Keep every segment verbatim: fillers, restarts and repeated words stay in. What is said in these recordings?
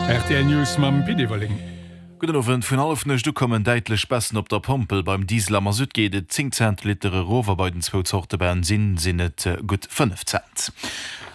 R T L News mam Pit Everling. Gudden Owend. Vun Hallefnuecht u kommen däitlech Baissen op der Pompel. Beim Diesel a Masutt geet et zéng Cent de Liter erof a bei den zwou Zorte Bensinn sinn et gutt fënnef Cent.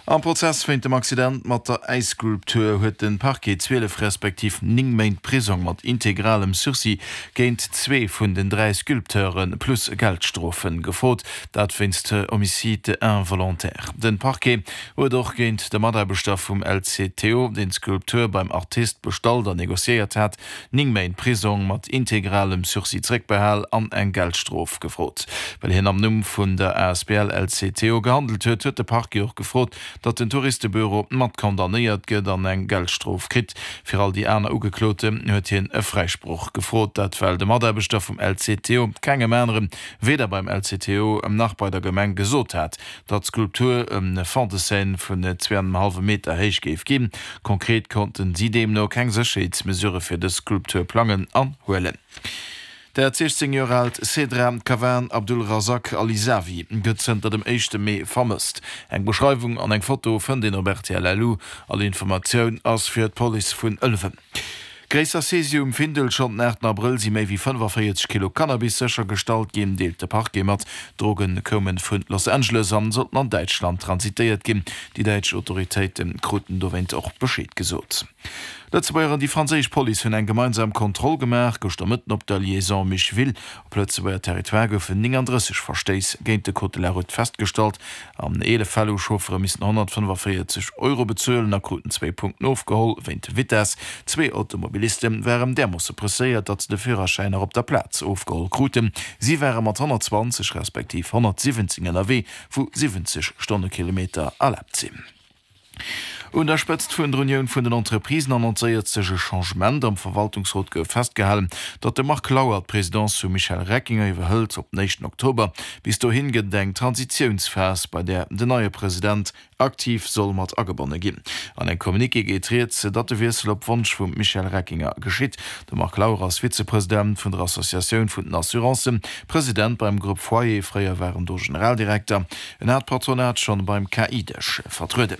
Am Prozess wéint dem Accident mat der Äisskulptur huet de Parquet zwielef respektiv néng Méint Prisong mat integralem Sursis géint zwee vun den dräi Sculpteure plus Geldstrofe gefrot, dat wéinst Homicide involontaire. Den Parquet huet och géint de Mataarbechter vum L C T O, deen d'Skulptur beim Artist bestallt an negociéiert hat, néng Méint Prisong mat integralem Sursis zréckbehal an eng Geldstrof gefrot. Well hien am Numm vun der A S B L L C T O gehandelt huet, huet de Parquet och gefrot, datt den Touristebüro mat condamnéiert gëtt an eng Geldstrof kritt. Fir all déi aner Ugekloten huet hien e Fräisproch gefrot, dat well de Mataarbechter vum L C T O kengem aneren, weder beim L C T O nach bei der Gemeng gesot hat, datt d'Skulptur e Fond de scène vun zwee an engem hallwe Meter héich géif ginn. Konkret konnten si deemno keng Sécherheetsmesurë fir dës Skulptur plangen an huelen. Dat siechzéng Joer aalt Cedra Kavan Abdulrazak Alisawi gëtt zënter dem éischte Mee vermësst. Eng Beschreiwung an eng Foto fënnt een op R T L L U. All Informatioun ass fir d'Police vun Ëlwen. Gréisser Saisie um Findel. Schonn den aachten Abrëll si méi wéi fënnefavéierzeg Kilo Cannabis séchergestallt ginn, deelt de Parquet mat. D'Droge koume vun Los Angeles an sollten an Däitschland transitéiert ginn. Déi däitsch Autoritéite kruten dowéint och Bescheed gesot. Lëtzebuerger an déi franséisch Police hunn eng gemeinsam Kontroll gemaach gëschter Mëtten op der Liaison Micheville. Op Lëtzebuerger Territoire goufen nénganddrësseg Verstéiss géint de Code de la Route festgestallt. An eelef Fäll hu Chauffere missen honnertfënnefavéierzeg Euro bezuelen a kruten zwee Punkten ofgeholl wéint Vitess. Zwee Automobiliste waren därmoosse presséiert, datt se de Führerschäin nach op der Plaz ofgeholl kruten. Si ware mat honnertzwanzeg respektiv honnertsiwwenzéng ënnerwee, wou siwwenzeg Stonnekilometer erlaabt sinn. Un der Spëtzt vun der Unioun vun den Entreprisen annoncéiert sech e Changement. Am Verwaltungsrot gouf festgehalen, datt de Marc Lauer d'Presidence vum Michel Reckinger iwwerhëlt op den éischten Oktober. Bis dohin gëtt et eng Transitiounsphas, bei där den neie President aktiv soll mat agebonne ginn. An engem Communiqué geet rieds, datt de Wiessel op Wonsch vum Michel Reckinger geschitt. De Marc Lauer ass Vizepresident vun der Associatioun vun den Assurancen, President beim Grupp Foyer, fréier war en do Generaldirekter. En hat d'Patronat schonn beim K I-Dësch vertrueden.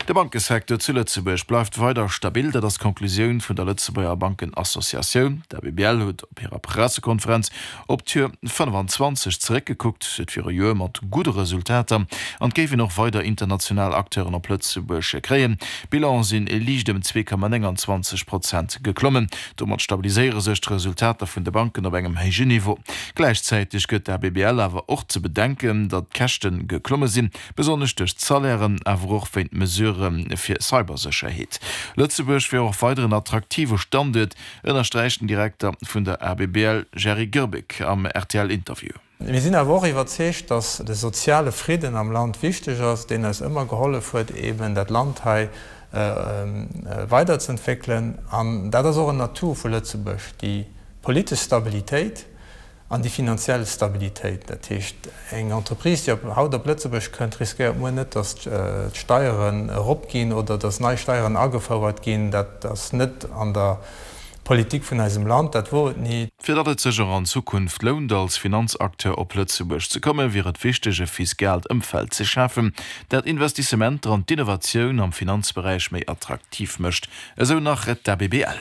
De Bankesecteur zu Lëtzebuerg bleift weider stabil, dat ass d'Konklusioun vun der Lëtzebuerger Bankenassociatioun. D'A B B L huet op hirer Pressekonferenz op d'Joer fënnefenzwanzeg zeréckgekuckt, et wier e Joer mat gudde Resultater an et géif een och weider international Acteuren op Lëtzebuerg kréien. D'Bilan sinn liicht ëm zwee Komma nénganzwanzeg Prozent geklommen. Domat stabiliséiere sech d'Resultater vun de Banken op engem héijen Niveau. Gläichzäiteg gëtt d'A B B L awer och ze bedenken, datt d'Käschte geklomme sinn, besonnesch duerch d'Salairen, awer och wéint Mesurë fir Cybersécherheet. Lëtzebuerg wier och weider en attraktive Standuert, ënnersträicht den Direkter vun der A B B L Jerry Grbic am R T L-Interview. Mir sinn awer och iwwerzeegt, datt de soziale Fridden am Land wichteg ass, deen eis ëmmer gehollef huet, eben dat Land hei weiderzeentwéckelen. An dat ass och en Atout vu Lëtzebuerg, déi politesch Stabilitéit an déi finanziell Stabilitéit. Dat heescht, eng Entreprise, déi op haut op Lëtzebuerg kënnt, riskéiert muer net, datt d'Steieren eropginn oder datt nei Steieren agefouert ginn. Dat ass net an der Politik vun eisem Land, dat wor et ni. Fir datt et sech och an Zukunft lount, als Finanzacteur op Lëtzebuerg ze kommen, wier et wichteg, e fiskaalt Ëmfeld ze schafen, dat Investissementer an d'Innovatioun am Finanzberäich méi attraktiv mécht, esou nach d'A B B L.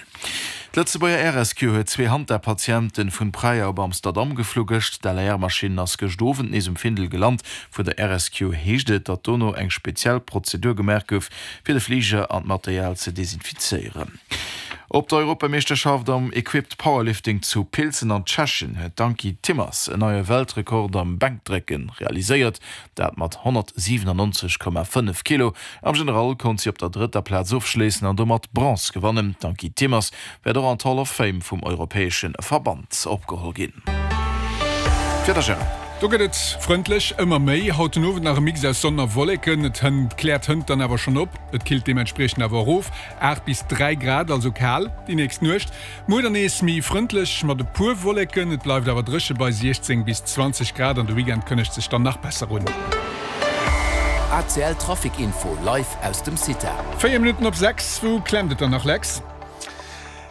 D'Lëtzebuerger Air Rescue huet zwee Hanta-Patienten vun Praia op Amsterdam geflu gëscht. D'L A R-Maschinn ass gëscht Owend nees um Findel gelant. Vun der Air Rescue heescht et, datt dono eng speziell Prozedur gemaach gouf, fir de Fliger an d'Material ze desinfizéieren. Op der Europameeschterschaft am Equipped Powerlifting zu Pilsen an Tschechien huet d'Ankie Timmers en neie Weltrekord am Bänkdrécke realiséiert, dat mat honnertsiwenannonzeg Komma fënnef Kilo. Am General konnt si op der drëtter Plaz ofschléissen an domat Bronze gewannen. D'Ankie Timmers wäert och an d'Hall of Fame vum europäesche Verband opgeholl ginn. Wieder, Gérard. Do gëtt et frëndlech, ëmmer méi. Haut den Owend nach e Mix aus Sonn a Wolleken. Et hënt kläert hënt dann awer schonn op. Et killt deementspriechend awer erof, aacht bis dräi Grad, also kal déi nächst Nuecht. Muer dann nees méi frëndlech mat e puer Wolleken. Et bleift awer dréche bei siechzéng bis zwanzeg Grad an de Weekend kënnegt sech dann nach besser un. A C L Trafic Info live aus dem CITA. Véier Minutten op sechs, wou klemmt et dann nach, Lex?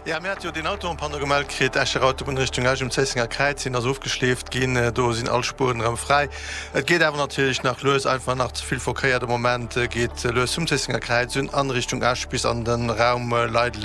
Ja, mir hate jo deen Auto en panne gemellt kritt, Escher Autobunn Richtung Esch um Zéissenger Kräiz, deen ass ofgeschleeft ginn. Do sinn all Spueren erëm fräi. Et geet awer natierlech nach lues, einfach nach ze vill Verkéier de Moment. Geet lues vum Zéissenger Kräiz un an Richtung Esch bis an de Raum Leideleng.